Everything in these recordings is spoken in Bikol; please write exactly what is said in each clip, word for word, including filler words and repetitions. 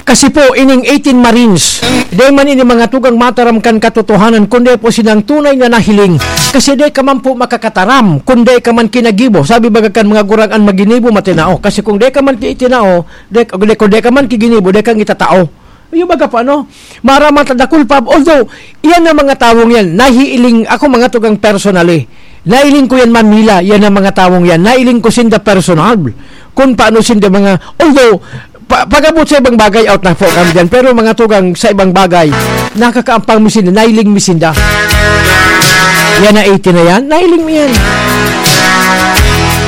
Kasi po, ining eighteen Marines, dai man ini mga tugang mataram kan katotohanan, kundi po sinang tunay na nahiling. Kasi dai ka man po makakataram, kung dai ka man kinagibo. Sabi baga kan mga gurang, "An maginibo, matinao." Kasi kung dai ka man ki-, itinao, dai, kung dai, kung dai ka man kiginibo, dai kang itatao. Yung baga po, ano? Maraman ta dakul pa. Although, iyan na mga tawong yan, nahiiling ako mga tugang personally. Nailing ko yan, Manila, yan ang mga tawong yan. Nailing ko sinda personal. Kung paano sinda mga, although, pa, pag-abot sa ibang bagay, out na po kami dyan. Pero mga tugang sa ibang bagay, nakakaampang mi sinda, nailing mi sinda. Yan na eighty na yan, nailing mi yan.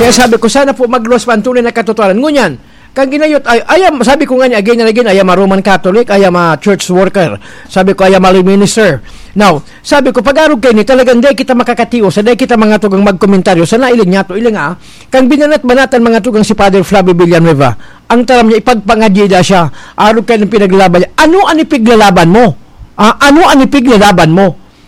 Kaya sabi ko, sana po magluwas pa ang tunay na katotohanan. Ngunyan, kang ginayot, ay, I am, sabi ko nga niya, again and again, "I am a Roman Catholic, I am a church worker." Sabi ko, "I am a lay minister." Now, sabi ko, pag-arog kayo ni, talagang dai kita makakatios, dai kita mga tugang magkomentaryo, sa nailing niya to, iling ah, kang binanat-banatan mga tugang si Father Flavio Villanueva, ang taram niya, ipagpangadyi da siya, arog kayo ng pinaglalaban niya. Ano an ipiglalaban mo? Ah, ano an ipiglalaban mo?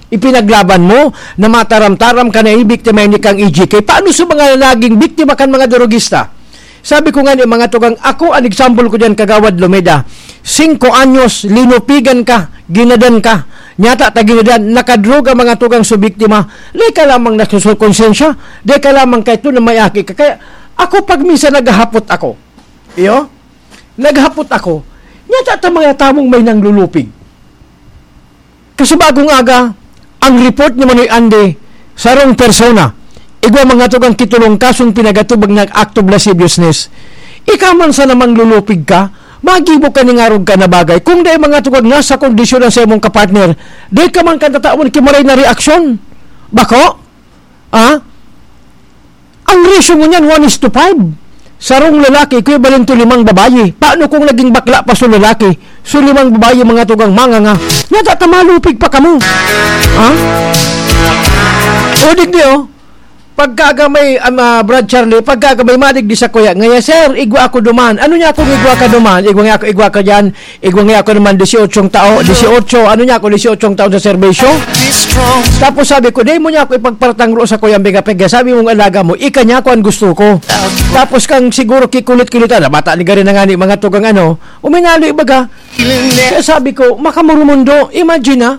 Ipinaglaban mo na mataram-taram ka na ibiktima ni kang E G K. Paano sa mga naging biktima kan mga drogista? Sabi ko nga ni mga tugang, ako, an example ko diyan, Kagawad Lumeda. Singko anyos, linupigan ka, ginadan ka. Nyata ta ginadan, nakadroga mga tugang sa biktima. Di ka lamang nagsusulkonsensya. Di ka lamang kahit doon na may aki ka. Kaya ako, pag minsan naghahapot ako, iyo, naghapot ako, nyata ta mga tamong may nanglulupig. Kasubagong aga, ang report ni Manoy Andy, sarong persona, igwa mga tugang kitulong kasong pinagatubag na act of lasciviousness. Ikaw man sana manglulupig ka, magibo ka ning arog ka na bagay. Kung dai mga tugang nasa kondisyon ang sa imong kapartner, dai ka man katatawan ki maray na reaksyon. Bako? Ah? Ang ratio mo niyan, one is to five. Sarong lalaki, equivalent to limang babayi. Paano kung naging bakla pa sa lalaki? So, limang babayi, mga tugang manga nga. Yata, tamalupig pa kamo. Ha? O, digdi, oh. Pagkaaga may, um, ah, Brad Charlie, pagkaaga may madigdi sa kuya, ngaya, "Sir, igwa ako duman." Ano niya kung igwa ka duman? Igwa nga ako, igwa ka dyan. Igwa nga ako naman, disiotsyong tao. Disiotso, ano niya ako, disiotsyong taon sa serbisyo? Tapos sabi ko, "Dai mo niya ako ipagparatangro sa kuya, ang biga-piga. Sabi mong alaga mo, ika niya ako ang gusto ko." Tapos kang siguro kikulit-kulitan, na bata ni gari na nga ni mga tugang ano, uminali baga. Kaya sabi ko, "Makamurumundo, imagine na,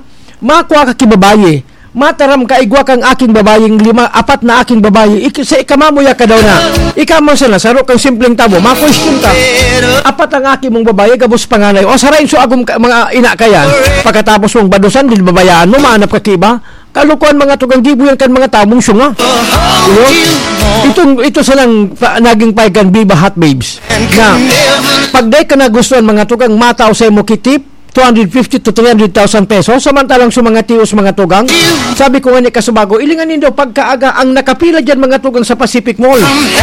makuha ka kibabayi. Mataram ka, igwa kang aking babaying lima, apat na aking babayi, ik-, sa ikamamuya ka daw na. Ikaw man sana, saro kang simpleng tabo, ma-question ka. Apat ang aki mong babayi, gabos panganay. O, sarain so agom ka, mga ina ka yan. Pagkatapos mong badusan, din babayaan mo, maanap ka kiba." Kalukuhan mga tugang gibo yan kan mga tamong syunga. Iyo? Itong, ito sanang pa, naging pahigan, Viva Hot Babes. Na, pag dai ka nagustuhan mga tugang, matao sa imo kitip, two hundred fifty to three hundred thousand pesos, samantalang sa mga tios, mga tugang. Sabi ko nga ni Kasubago, ilingan nindo pagkaaga ang nakapila dyan mga tugang sa Pacific Mall.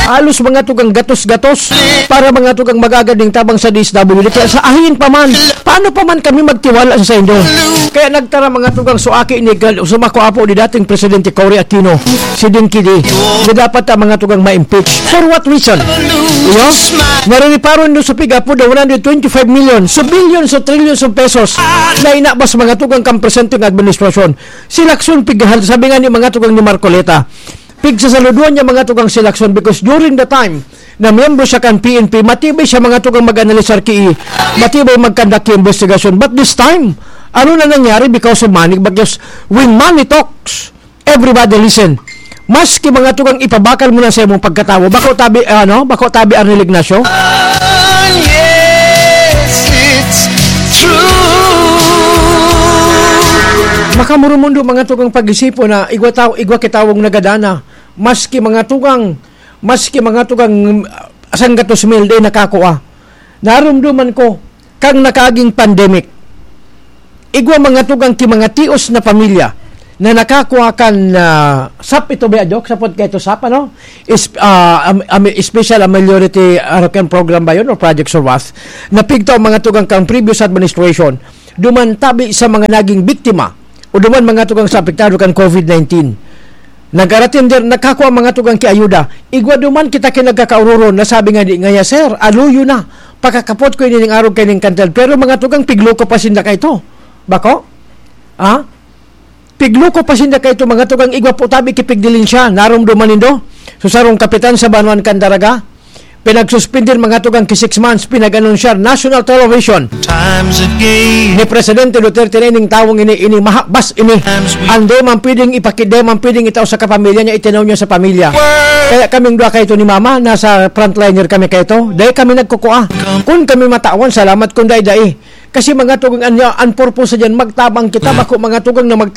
Halos mga tugang gatos-gatos para mga tugang magagad ning tabang sa D S W D. Kaya sa ahin pa man, paano pa man kami magtiwala sa saindo? Kaya nagtara mga tugang suaki ni Gal-, sumakuapo ni dating Presidente Cory Aquino, si Dinky D, na dapat ta mga tugang ma-impeach. For what reason? Iyo? Naririparon do sa pigapo na one hundred twenty-five million, so billions o trillions of pesos na inabas mga tugang kang presenteng administrasyon. Si Lacson, pigahal, sabi nga ni mga tugang ni Marcoleta, pigsasaluduan niya mga tugang si Lacson because during the time na miyembro siya kan P N P, matibay siya mga tugang mag-analisar ki, matibay magkandak ki investigasyon. But this time, ano na nangyari because of money? Because when money talks, everybody listen. Maski mga tugang ipabakal mo na sa imong pagkatawo. Bako tabi, ano? Bako tabi, Arnel Ignacio? Ah, yes, it's true. Makamurumundo mga tugang pag-isipo na igwa taw-, igwa kitawong nagadana. Maski mga tugang, maski mga tugang, mm, sanggatos mil, di nakakua. Narumduman ko, kang nakaging pandemic, igwa mga tugang ki mga tios na pamilya na nakakua kan, ah, sap ito ba, Dok? Sapot ka ito, sap, ano? Is, ah, am-, am-, special ameliorative, ah, kan program ba yun? O Project Surwas? Napigto ang mga tugang kang previous administration, duman tabi sa mga naging biktima o duman mga tugang sa apektado kan COVID nineteen. Nag-aratender, nakakua mga tugang ki ayuda. Igwa duman kita ki nagkakaororon na sabi nga di ngaya, "Sir, aluyo na. Pakakapot ko ini ning arog kay ning kantel." Pero mga tugang, pigluko pa sinda kay ito. Bako? Ha? Pigluko pa sinda kay ito, mga tugang, igwa po tabi ki pigdilin siya. Narumduman nindo? So, sarong kapitan sa Banwan kan Daraga, Pinagsuspindir mga tugang ki six months, pinag-anunsyar national television Times again. ni Presidente Duterte na ining tawong ini, ini mahabas ini. Ang di man pwedeng ipaki, di man pwedeng itao sa kapamilya niya, itinaw niya sa pamilya. Kaya kaming dua kaito ni Mama, nasa frontliner kami kaito. Dai kami nagkukua. Kun kami matawan, salamat kun dai-dai. Kasi mga tugang, an, an purpose dyan, magtabang kita, bako mga tugang na magtabang.